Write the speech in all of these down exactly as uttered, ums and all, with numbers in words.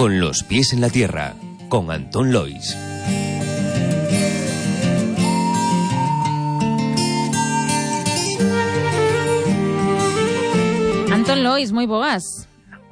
Con los pies en la tierra, con Antón Lois. Antón Lois, moi boas.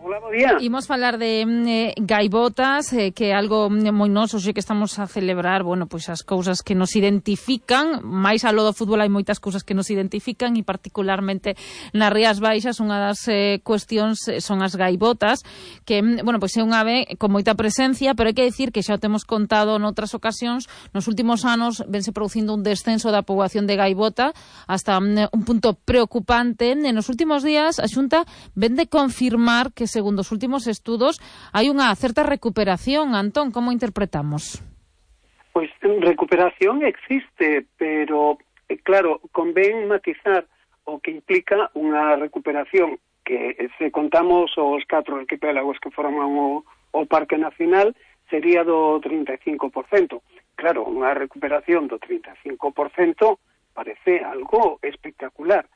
Hola, bo día. Imos falar de eh, gaivotas, eh, que é algo moi noso, xe que estamos a celebrar, bueno, pois as cousas que nos identifican, máis alo do fútbol hai moitas cousas que nos identifican e particularmente nas Rías Baixas unha das eh, cuestións son as gaivotas, que, bueno, pois é unha ave con moita presencia, pero hai que dicir que xa o temos contado noutras ocasións, nos últimos anos vense producindo un descenso da poboación de gaivota hasta um, un punto preocupante. E nos últimos días a Xunta ven de confirmar que segundo os últimos estudos, hai unha certa recuperación. Antón, como interpretamos? Pois recuperación existe, pero, claro, convén matizar o que implica unha recuperación que, se contamos os catro arquipélagos que forman o, o Parque Nacional, sería do trinta e cinco por cento. Claro, unha recuperación do trinta e cinco por cento parece algo espectacular.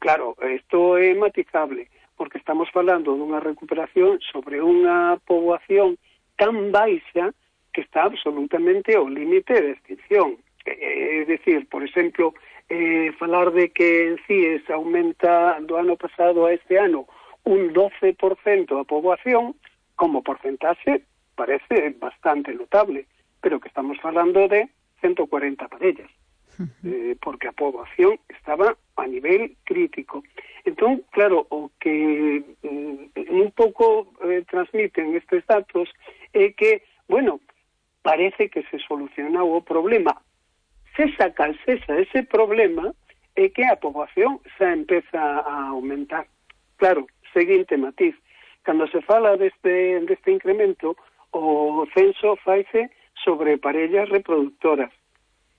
Claro, isto é matizable, porque estamos falando dunha recuperación sobre unha poboación tan baixa que está absolutamente ao límite de extinción. É dicir, por exemplo, eh, falar de que en CIES aumenta do ano pasado a este ano un doce por cento a poboación, como porcentaxe parece bastante notable, pero que estamos falando de ciento cuarenta parellas. Eh, porque a poboación estaba a nivel crítico. Entón, claro, o que eh, un pouco eh, transmiten estes datos é que, bueno, parece que se soluciona o problema. Se saca cesa ese problema é que a poboación xa empeza a aumentar. Claro, seguinte matiz, cando se fala deste, deste incremento, o censo faise sobre parellas reproductoras,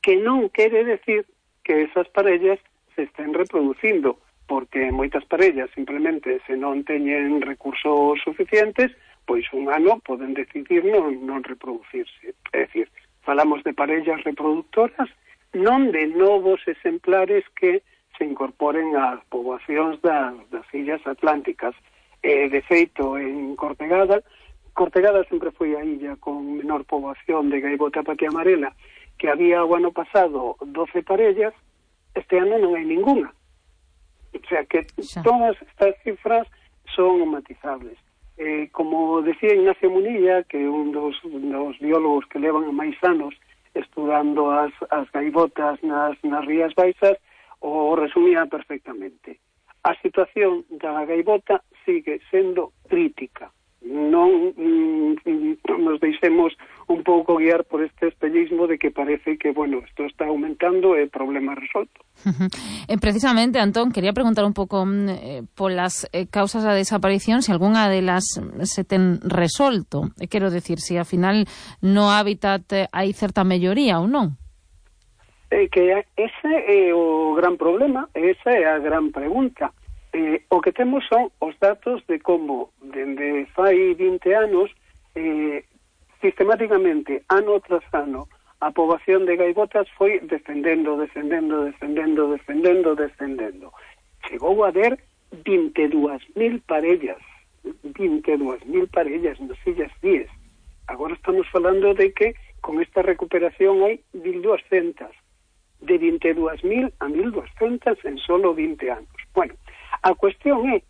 que non quere decir que esas parellas se estén reproducindo, porque moitas parellas simplemente se non teñen recursos suficientes, pois un ano poden decidir non, non reproducirse. É dicir, falamos de parellas reproductoras, non de novos exemplares que se incorporen ás poboacións das, das illas atlánticas. Eh, de feito, en Cortegada, Cortegada sempre foi a illa con menor poboación de gaivota patia amarela, que había o ano pasado doce parellas, este ano non hai ninguna. O sea que xa. Todas estas cifras son matizables. Eh, como decía Ignacio Munilla, que é un dos, dos biólogos que levan máis anos estudando as, as gaivotas nas, nas Rías Baixas, o resumía perfectamente. A situación da gaivota sigue sendo crítica. Non mm, nos deixemos un pouco guiar por este espellismo de que parece que, bueno, isto está aumentando e problema resolto. Uh-huh. Eh, precisamente, Antón, quería preguntar un pouco eh, polas eh, causas da desaparición, se algunha delas se ten resolto. Eh, quero decir, se ao final no hábitat eh, hai certa melloría ou non? Eh, que ese é o gran problema, esa é a gran pregunta. Eh, o que temos son os datos de como, dende fai vinte anos, eh, sistemáticamente, ano tras ano, a poboación de gaivotas foi descendendo, descendendo, descendendo, descendendo, descendendo. Chegou a haber vinte e dúas mil parellas, vinte e dúas mil parellas nas illas Cíes. Agora estamos falando de que con esta recuperación hai mil doscientas, de vinte e dúas mil a mil doscientas en solo vinte anos. Bueno, a cuestión é,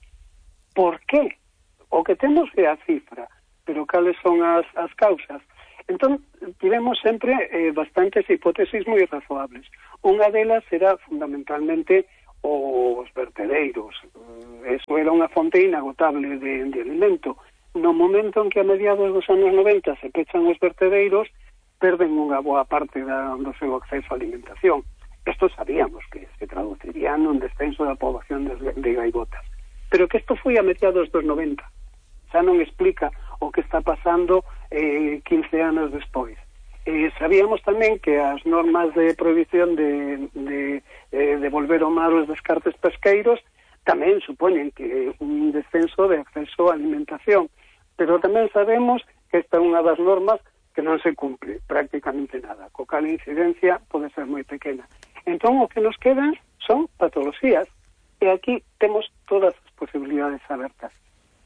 por qué? O que temos é a cifra, pero cales son as, as causas? Entón, tivemos sempre eh, bastantes hipótesis moi razoables. Unha delas era fundamentalmente os vertedeiros. Eso era unha fonte inagotable de, de alimento. No momento en que a mediados dos anos noventa se pechan os vertedeiros, perden unha boa parte da, do seu acceso á alimentación. Esto sabíamos que se traduciría nun descenso da poboación de, de gaivotas. Pero que isto foi a mediados dos noventa. Xa non explica o que está pasando eh, quince anos despois. Eh, sabíamos tamén que as normas de prohibición de, de, eh, de volver ao mar os descartes pesqueiros tamén supoñen que un descenso de acceso á alimentación. Pero tamén sabemos que esta é unha das normas que non se cumple prácticamente nada. Co cal a incidencia pode ser moi pequena. Entón, o que nos quedan son patoloxías. E aquí temos todas as posibilidades abertas.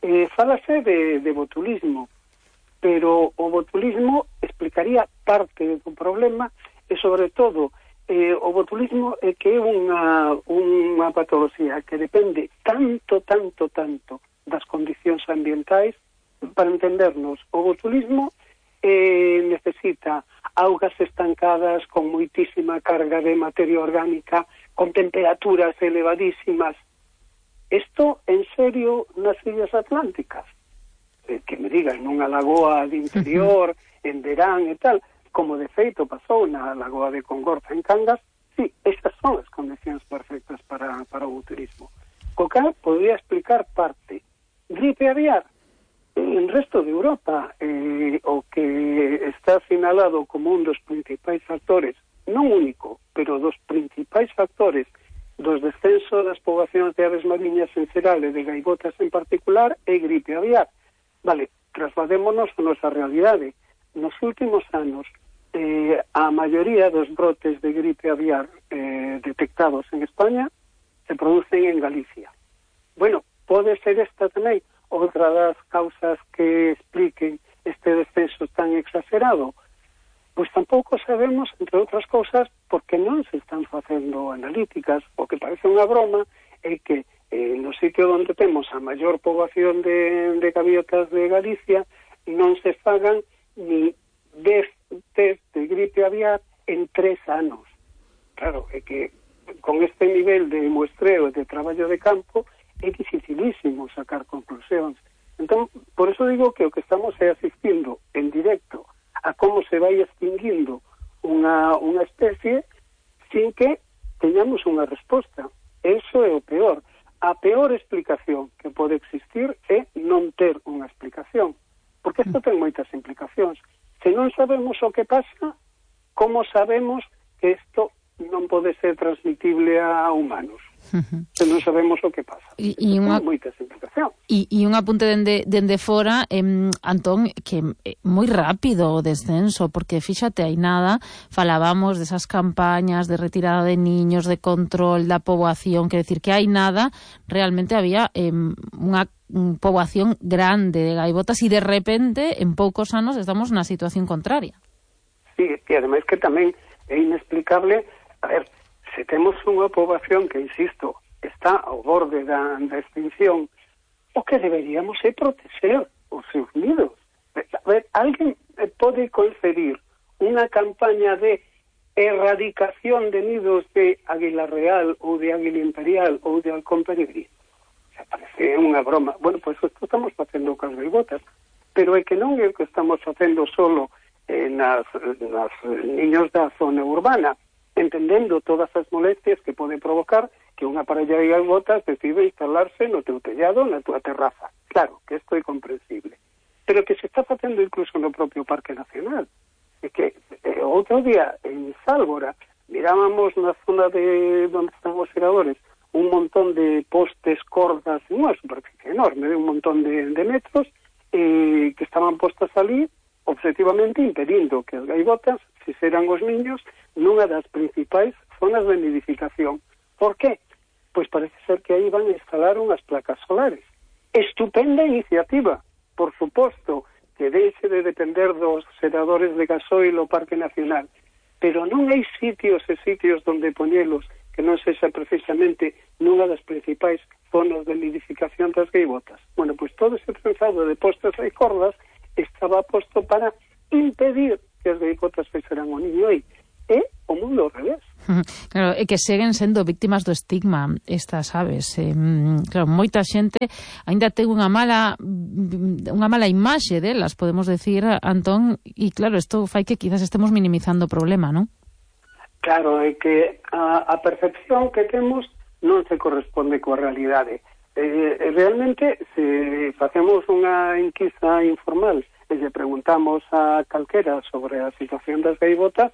Eh, fálase de, de botulismo. pero o botulismo explicaría parte do problema e, sobre todo, eh, o botulismo é que é unha, unha patoloxía que depende tanto, tanto, tanto das condicións ambientais. Para entendernos, o botulismo eh, necesita augas estancadas con moitísima carga de materia orgánica, con temperaturas elevadísimas. Isto, en serio, nas illas atlánticas? Eh, que me digan, nunha lagoa de interior, en verán e tal, como de feito pasou na lagoa de Congorza en Cangas, sí, estas son as condicións perfectas para, para o botulismo. Co cal podría explicar parte. Gripe aviar. En resto de Europa, eh, o que está sinalado como un dos principais factores, non único, pero dos principais factores dos descensos das poboacións de aves mariñas en xeral e de gaivotas en particular, é gripe aviar. Vale, trasladémonos a nosa realidade. Nos últimos anos, eh, a maioría dos brotes de gripe aviar eh, detectados en España se producen en Galicia. Bueno, pode ser esta tamén outra das causas que expliquen este descenso tan exagerado. Pois tampouco sabemos, entre outras cousas, porque non se están facendo analíticas. O que parece unha broma é que eh, no sitio onde temos a maior poboación de, de gaviotas de Galicia non se fagan ni dez test de gripe aviar en tres anos. Claro, é que con este nivel de muestreo e de traballo de campo é dificilísimo sacar conclusións. Entón, por eso digo que o que estamos é asistindo en directo a como se vai extinguindo unha, unha especie sin que teñamos unha resposta. Eso é o peor. A peor explicación que pode existir é non ter unha explicación. Porque isto ten moitas implicacións. Se non sabemos o que pasa, como sabemos que isto non pode ser transmitible a humanos? Uh-huh. Se non sabemos o que pasa. E, e unha, moitas implicacións. E, e un apunte dende, dende fora, eh, Antón, que é moi rápido o descenso, porque fíxate, hai nada, falábamos desas campañas de retirada de niños, de control da poboación, que decir que hai nada, realmente había eh, unha poboación grande de gaivotas e de repente, en poucos anos, estamos na situación contraria. Sí, e ademais que tamén é inexplicable, a ver, se temos unha poboación que, insisto, está ao borde da, da extinción, o que deberíamos é proteger os seus nidos. A ver, alguén pode concebir unha campaña de erradicación de nidos de águila real ou de águila imperial ou de halcón peregrino? Se parece unha broma. Bueno, pois pues, isto estamos facendo con as gaivotas, pero é que non é o que estamos facendo solo eh, nas, nas niños da zona urbana, entendendo todas as molestias que pode provocar que unha parella de gaivotas decide instalarse no teu tellado, na tua terraza. Claro, que isto é comprensible. Pero que se está facendo incluso no propio Parque Nacional. É que eh, outro día, en Sálvora, mirábamos na zona de onde están os segadores un montón de postes, cordas, unha superficie enorme, de un montón de, de metros, eh, que estaban postas ali, objetivamente impedindo que as gaivotas fixeran os niños nunha das principais zonas de nidificación. Por qué? Pois parece ser que aí van a instalar unhas placas solares. Estupenda iniciativa, por suposto, que deixe de depender dos segadores de gasoil o Parque Nacional, pero non hai sitios e sitios donde poñelos que non sexa precisamente nunha das principais zonas de nidificación das gaivotas. Bueno, pois todo ese trenzado de postes e cordas estaba posto para impedir que as gaivotas fixeran o niño aí. É o mundo ao revés. Claro, é que seguen sendo víctimas do estigma estas aves. Eh, claro, moita xente aínda ten unha mala unha mala imaxe delas, podemos decir, Antón, e claro, isto fai que quizás estemos minimizando o problema, non? Claro, é que a, a percepción que temos non se corresponde coa realidade. Eh, realmente, se facemos unha enquisa informal e lle preguntamos a calquera sobre a situación das gaivotas,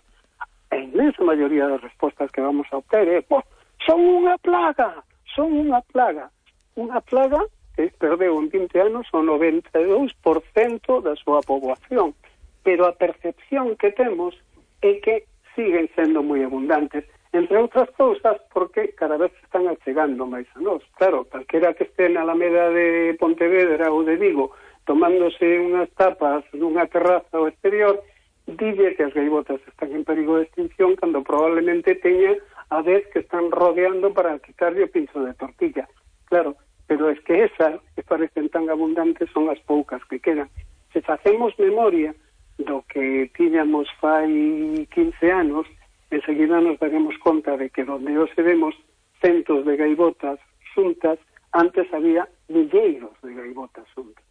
a inmensa maioría das respostas que vamos a obter é oh, son unha plaga, son unha plaga. Unha plaga que perdeu en vinte anos o noventa e dous por cento da súa poboación. Pero a percepción que temos é que siguen sendo moi abundantes, entre outras cousas porque cada vez se están achegando máis a nós. Claro, calquera que este na Alameda de Pontevedra ou de Vigo tomándose unhas tapas nunha terraza ao exterior, dille que as gaivotas están en perigo de extinción cando probablemente teña a vez que están rodeando para quitarlle o pincho de tortilla. Claro, pero es que esas que parecen tan abundantes son as poucas que quedan. Se facemos memoria do que tiñamos fai quince anos, enseguida nos daremos conta de que donde hoxe vemos centos de gaivotas xuntas, antes había milleiros de gaivotas xuntas.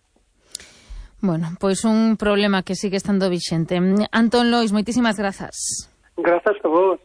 Bueno, pois un problema que sigue estando vixente. Antón Lois, moitísimas grazas. Grazas a vos.